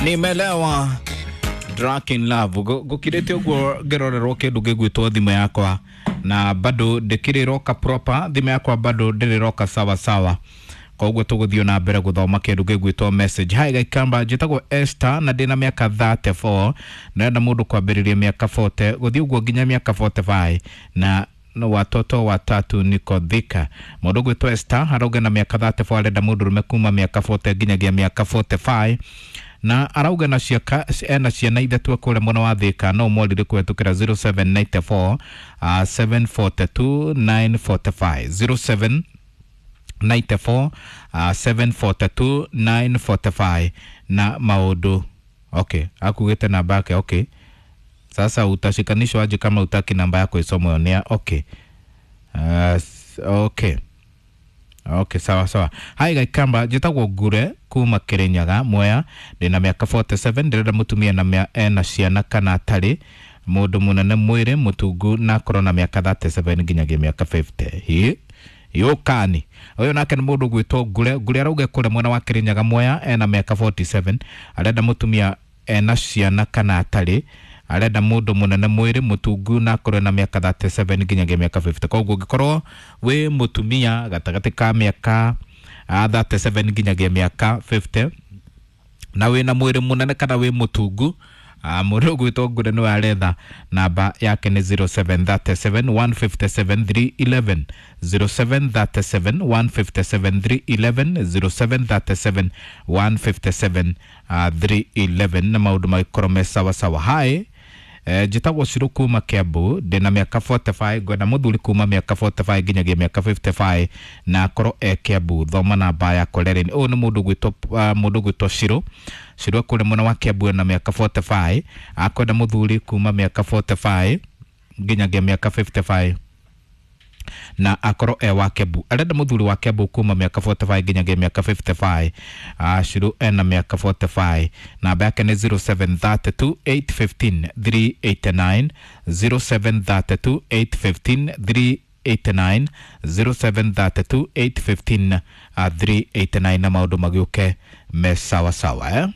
Nimelewa Drunk in Love. Gukirite uguo ngirorerwo kindu gigwitwo thimu yakwa na bado ndikiriroka proper, thimu yakwa bado ndiriroka sawa sawa, koguo tuguthio na mbere guthoma kindu gigwitwo message. Hi Gaikamba, njitagwo Esther na ndina miaka 34, ndĩrenda mũndũ kwambĩrĩria miaka 40 gũthiĩ ũguo nginya miaka 45 na no watoto watatu, niko Thika. Mũndũ gwĩtwo Esther arauga na mĩaka 34 arenda mũndũrũme kuma mĩaka 40 nginyagia mĩaka 45, na arauga na ciaka ena ciana ithatũ kũrĩa mwena wa Thika. No mwarire kũhetũkĩra 0794 742 945, 07 94 742 945 na maũndũ. Okay, akugĩte namba yake. Okay, sasa utashikanishwa aje kama utaki namba yako isomwe on air? Okay, okay, sawa sawa. Hi Gaikamba, njĩtagwo Ngure kuma Kirinyaga Mwea, ndĩna mĩaka 47, ndĩrenda mũtumia na ena ciana kana atarĩ, mũndũ mũnene mwĩrĩ, mũtungu, na akorwo na mĩaka 37 nginyagia mĩaka 50. Hi yũkani ũyũ nake nĩ mũndũ gwĩtwo Ngure. Ngure arauga kũrĩa mwena wa Kirinyaga Mwea, ena mĩaka 47, arenda mũtumia ena ciana kana atarĩ, arenda mũndũ mũnene mwĩrĩ, mũtungu, na akorwo na mĩaka 37 nginyagia mĩaka 50. Koguo ũngĩkorwo wĩ mũtumia gatagatĩ ka mĩaka 37 nginyagia mĩaka 50 na wĩna mwĩrĩ mũnene kana wĩ mũtungu, mũndũ ũgwĩtwo Ngure nĩwe aretha. Namba yake nĩ 0737 157 311, 0737 157 311, 0737 157 311, na maũndũ magĩkorwo me sawa sawa. Hi, njĩtagwo Ciru kuma Kiambu, ndĩna mĩaka 45, ngwenda mũthuri kuma mĩaka 45 nginyagia mĩaka 55 na akorwo e Kiambu. Thoma namba yakwa rerĩ. Ũyũ nĩ mũndũ gwĩtwo mũndũ gwĩtwo Ciru. Ciru akũrĩa mwena wa Kiambu, ena mĩaka 45, akwenda mũthuri kuma mĩaka 45 nginyagia mĩaka 55 na akorwo e wa Kiambu. Arenda mũthuri wa Kiambu kuma mĩaka 45 nginyagia mĩaka 55. Ciru ena mĩaka 45, namba yake nĩ 0732 815 389, 0732 815 389, 0732 815 389, na maũndũ magĩũke me sawa sawa, eh?